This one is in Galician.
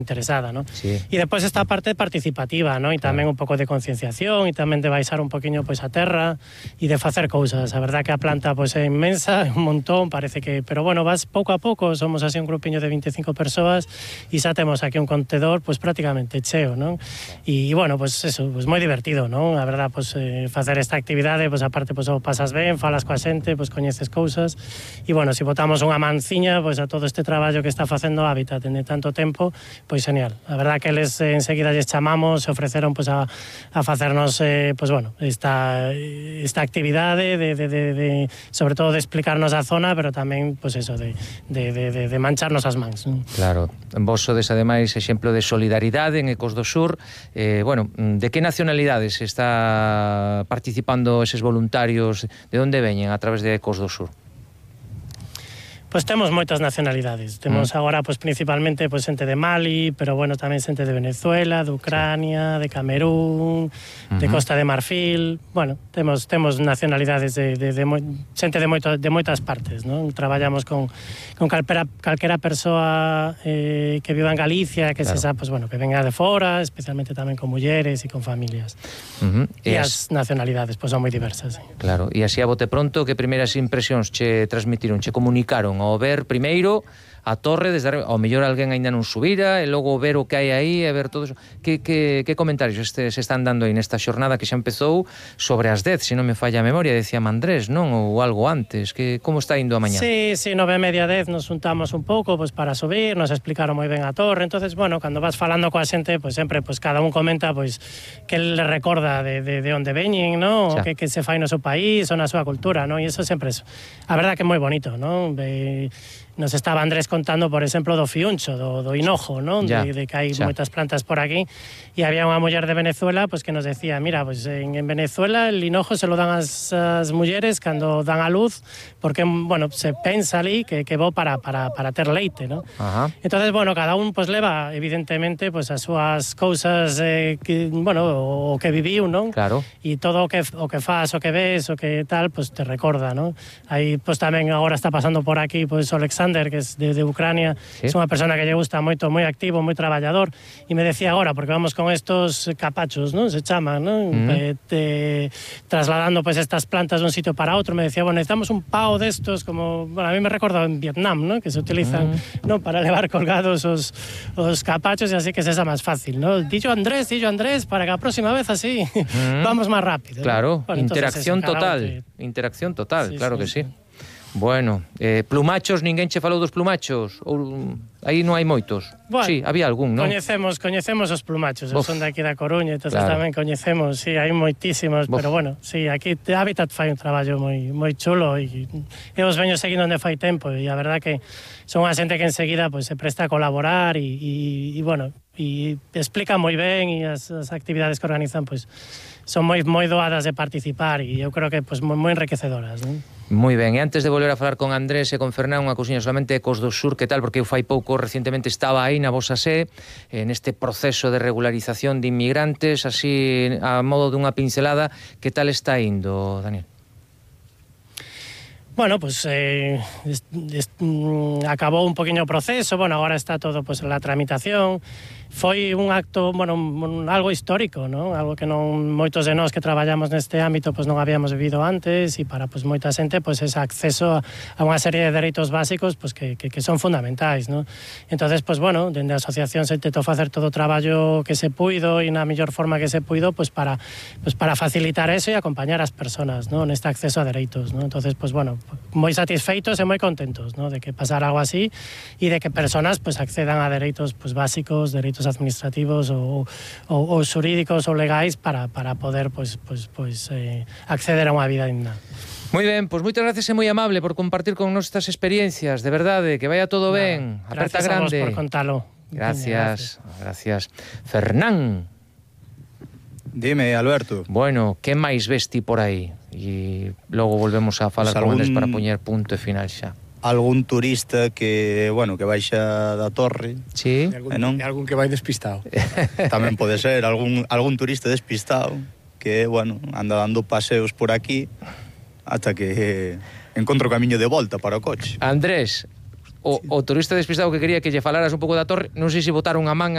interesada, ¿no? Sí. E despois esta parte participativa, ¿no? E tamén un pouco de concienciación e tamén de baixar un poquinho pois a terra e de facer cousas. A verdad que a planta pois é inmensa, é un montón, parece que, pero bueno, vas pouco a pouco, somos así un grupiño de 25 persoas e xa temos aquí un contedor pois prácticamente cheo, ¿no? E bueno, pois eso, pois moi divertido, ¿no? A verdad, pois facer esta actividade, pois aparte pois o pasas ben, falas coa xente, pois coñeces cousas e bueno, se botamos unha manciña pois a todo este traballo que está facendo Hábitat en tanto tempo, pois genial. A verdad que eles enseguida lles chamamos, se ofreceron pois a facernos pois bueno, esta actividade de sobre todo de explicarnos a zona, pero tamén pois eso de mancharnos as mans. Claro, vos sodes ademais exemplo de solidaridade en Ecos do Sur. Bueno, de que nacionalidades está participando eses voluntarios? De onde veñen a través de Ecos do Sur? Pois temos moitas nacionalidades. Temos agora pois principalmente pois xente de Mali, pero bueno, tamén xente de Venezuela, de Ucrania, de Camerún, de Costa de Marfil. Bueno, temos nacionalidades de xente de moitas partes, non? Traballamos con calquera persoa que viva en Galicia, que se xa, pois bueno, que venga de fora, especialmente tamén con mulleres e con familias. E as nacionalidades pois son moi diversas. Claro, e así a bote pronto, que primeiras impresións che transmitiron, che comunicaron ao ver primeiro a torre desde arriba? Ao mellor alguén aínda non subira e logo ver o que hai aí e ver todo eso. Que comentarios se están dando aí nesta xornada que xa empezou sobre as 10, se non me falla a memoria, decía Andrés, non? Ou algo antes, que como está indo a mañá? Sí, 9:30, 10 nos juntamos un pouco pois para subir, nos explicaron moi ben a torre. Entonces, bueno, cando vas falando coa xente, pois sempre pois cada un comenta pois que le recorda de onde veñen, ¿no? O que se fai no seu país ou na súa cultura, ¿no? E iso sempre é, a verdad que é moi bonito, ¿no? Nos estaba Andrés contando, por exemplo, do fiuncho, do hinojo, ¿no? De que hai moitas plantas por aquí, e había unha muller de Venezuela pues, que nos decía, mira, pues en Venezuela el hinojo se lo dan as mulleres cando dan a luz, porque, bueno, se pensa ali que bo para ter leite, ¿no? Entonces, bueno, cada un pues leva, evidentemente, pues as súas cousas que, bueno, o que viviu, ¿no? Claro. E todo o que fas, o que ves, o que tal, pues te recorda, ¿no? Aí, pues tamén agora está pasando por aquí, pues Alexander, que es de Ucrania, es unha persona que lle gusta moito, moi activo, moi traballador, e me decía agora, porque vamos con estos capachos, ¿no? Se chaman, ¿no? Trasladando pues estas plantas de un sitio para outro, me decía, bueno, necesitamos un pao destos, como, bueno, a mí me recorda en Vietnam, ¿no? Que se utilizan, ¿no? Para levar colgados os capachos, e así que se máis fácil, ¿no? Dillo Andrés, para que a próxima vez así vamos máis rápido. Claro, bueno, interacción total, sí, claro que sí. Bueno, plumachos, ninguén che falou dos plumachos? Ou aí non hai moitos? Bueno, sí, había algún, non? Coñecemos os plumachos, son daqui da Coruña, entonces tamén coñecemos, sí, hai moitísimos, pero bueno, sí, aquí Hábitat fai un traballo moi chulo e os veño seguindo onde fai tempo, e a verdad que son unha xente que enseguida pues, se presta a colaborar e bueno, e explica moi ben, e as actividades que organizan pues, son moi doadas de participar, e eu creo que pues, moi enriquecedoras, non? Moi ben, e antes de volver a falar con Andrés e con Fernán, unha cousiña solamente Ecos do Sur, que tal, porque eu fai pouco recientemente estaba aí na vosa sé, neste proceso de regularización de inmigrantes, así a modo dunha pincelada, que tal está indo, Daniel? Bueno, pues acabou un poquinho o proceso, bueno, agora está todo pues, la tramitación. Foi un acto, bueno, algo histórico, ¿no? Algo que non moitos de nós que traballamos neste ámbito pues non habíamos vivido antes, e para pues moita xente pues ese acceso a unha serie de dereitos básicos pues que son fundamentais, ¿no? Entonces, pues bueno, dende a asociación se intentou facer todo o traballo que se puido e na mellor forma que se puido pues para facilitar eso e acompañar as persoas, ¿no? Neste acceso a dereitos, ¿no? Entonces, pues bueno, moi satisfeitos e moi contentos, ¿no? De que pasara algo así e de que persoas pues accedan a dereitos pues básicos, dereitos administrativos ou xurídicos ou legais para poder acceder a unha vida digna. Moi ben, pois moitas gracias e moi amable por compartir con nos estas experiencias, de verdade, que vaya todo ben. Aperta grande. Gracias a vos por contalo. Gracias. Fernán. Dime, Alberto. Bueno, que máis vesti por aí? E logo volvemos a falar con eles para poñer punto e final xa. Algún turista que, bueno, que baixa da torre. Sí. E algún que vai despistado. Tamén pode ser, algún turista despistado que, bueno, anda dando paseos por aquí ata que encontro o camiño de volta para o coche. Andrés, o turista despistado que quería que lle falaras un pouco da torre, non sei se botaron a man